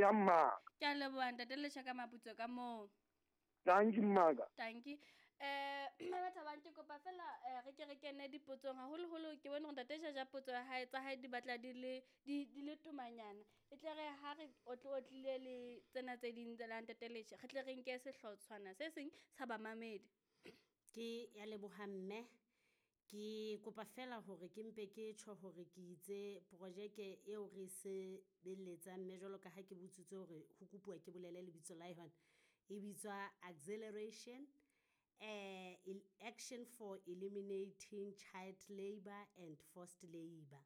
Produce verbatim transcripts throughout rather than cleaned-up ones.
Eya mmaka. Ke a leboha ntate Lesha ka maputso ka moo. Tanki mmaka. Tanki. Eh Mme Thabang, ke kopa fela eh, re ke re kene dipotsong haholoholo. Ke bone hore ntate Jaja potso ya hae tsa hae di batla di le di di le tomanyana. E tle re ha re otle otlile le tsena tse ding tsa la ntate Lesha, re tle re nke sehlotshwana se seng sa bamamedi. Ke ya leboha mme. Ke kopa fela hore ke mpe ke tjho hore ke itse projeke eo re e sebeletsang mme jwalo ka ha ke botsitse hore ho kopuwa ke bolele lebitso la yona. E bitswa Acceleration Action for Eliminating Child Labour and Forced Labour.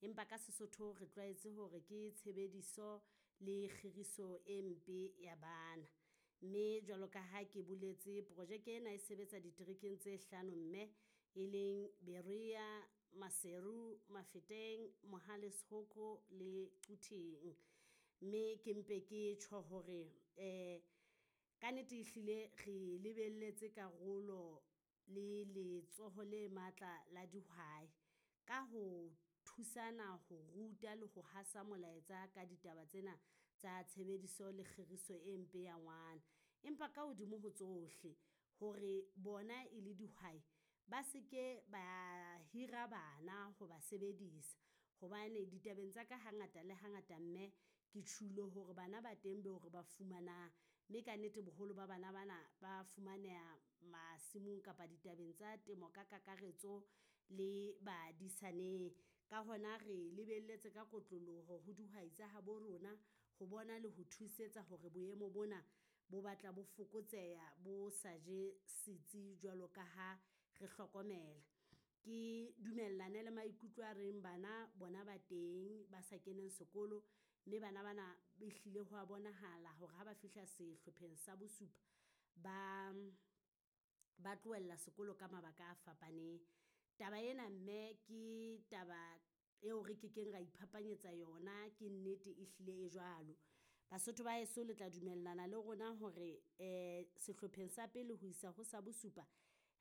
Empa ka Sesotho re tlwaetse hore ke tshebediso le kgiriso e mpe ya bana. Mme jwalo ka ha ke boletse projeke ena e sebetsa diterekeng tse hlano mme e leng Berea, Maseru, Mafeteng, Mohale's Hoek le Quthing. Mme ke mpe ke tjho hore ka nnete ehlile re lebelletse karolo le letsoho le matla la dihwai. Ka ho thusana ho ruta le ho hasa molaetsa ka ditaba tsena tsa tshebediso le kgiriso e mpe ya ngwana. Empa ka hodimo ho tsohle, hore bona e le dihwai ba seke ba hira bana ho ba sebedisa. Hobane ditabeng tsa ka ha ngata le ha ngata mme, ke tjhulo hore bana ba teng beo re ba fumanang. Mme ka nnete boholo ba bana ba na ba fumaneha masimong kapa ditabeng tsa temo ka kakaretso le badisaneng. Ka hona re lebelletse ka kotloloho ho dihwai tsa habo rona, ho bona le ho thusetsa hore boemo bona bo batla bo fokotseha bo sa je setsi jwalo ka ha re hlokomela. Ke dumellane le maikutlo a reng bana bona ba teng ba sa keneng sekolo, mme bana ba na ehlile ho a bonahala hore ha ba fihla sehlopheng sa bosupa, ba ba tlohella sekolo ka mabaka a fapaneng. Taba ena mme ke taba eo re kekeng ra iphapanyetsa yona, ke nnete e hlile e jwalo. Basotho ba heso le tla dumellana le rona hore sehlopheng sa pele ho isa ho sa bosupa,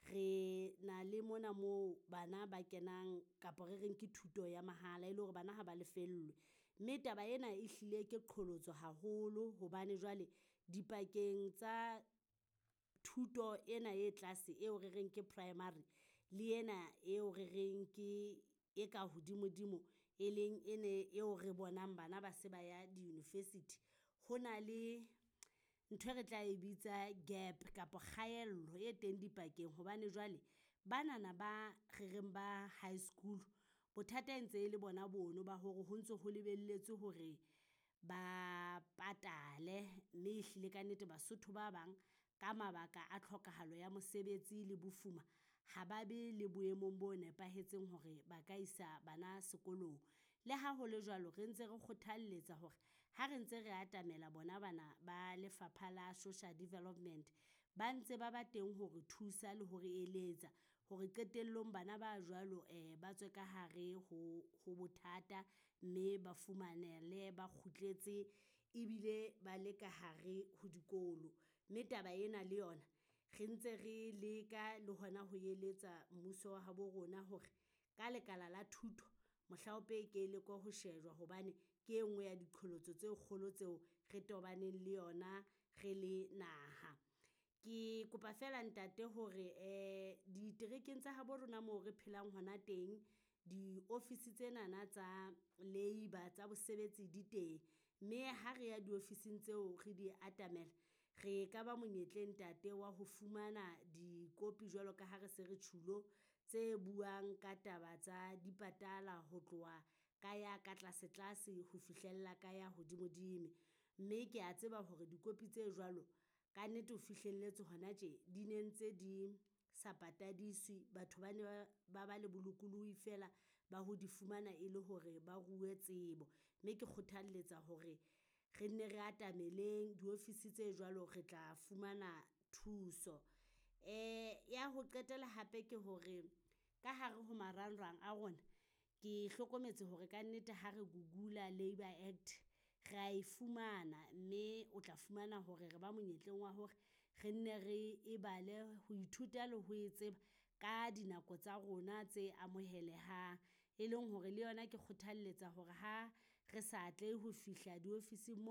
re na le mona moo bana ba kenang kapa re reng ke thuto ya mahala, e le hore bana ha ba lefellwe. Mme taba ena e hlile ke qholotso haholo hobane jwale dipakeng tsa thuto ena e tlase eo re reng ke primary, le ena eo re reng ke e ka hodimo-dimo e leng e ne eo re bonang bana ba se ba ya di-university. Ho na le nthwe re tla e bitsa gap kapa kgaello e teng dipakeng hobane jwale, bana na ba re reng ba high school, bothata e ntse e le bona bono ba hore ho ntso ho lebelletswe hore ba patale. Mme e hlile ka nnete Basotho ba bang ka mabaka a tlhokahalo ya mosebetsi le bofuma, ha ba be le boemong bo nepahetseng hore ba ka isa bana sekolong. Le ha hole jwalo, re ntse re kgothalletsa hore ha re ntse re atamela bona bana ba lefapha la Social Development, ba ntse ba ba teng hore thusa le hore eletsa hore qetellong bana ba jwalo ba tswe ka hare ho ho bothata, mme ba fumanele ba kgutletse ebile ba le ka hare ho dikolo. Mme taba ena le yona, re ntse re leka le hona ho eletsa mmuso wa habo rona hore ka lekala la thuto, mohlaope e ke lekwe ho shejwa hobane ke e nngwe ya diqholotso tse kgolo tseo re tobaneng le yona re le naha. Ke kopa feela ntate hore diterekeng tsa habo rona moo re phelang hona teng, di-office tsena tsa labour tsa bosebetsi di teng. Mme ha re ya di-office-ing tseo re di atamela, re ka ba monyetleng ntate wa ho fumana dikopi jwalo ka ha re se re tjhulo tse buang ka taba tsa dipatala ho tloha ka ya ka tlase tlase ho fihlella ka ya hodimo-dimo. Mme kea tseba hore dikopi tse jwalo, ka nnete ho fihlelletse hona tje di ne ntse di sa patadiswe. Batho ba ne ba ba ba le bolokolohi feela ba ho di fumana e le hore ba ruwe tsebo. Mme ke kgothalletsa hore re nne re atameleng di-office tse jwalo re tla fumana thuso. Ya ho qetela hape ke hore ka hare ho marangrang a rona, ke hlokometse hore ka nnete ha re Google-a Labour Act, re a e fumana mme o tla fumana hore re ba monyetleng wa hore re nne re e bale ho ithuta le ho e tseba ka dinako tsa rona tse amohelehang. E leng hore le yona ke kgothalletsa hore ha re sa atlehe ho fihla di-office-ing moo.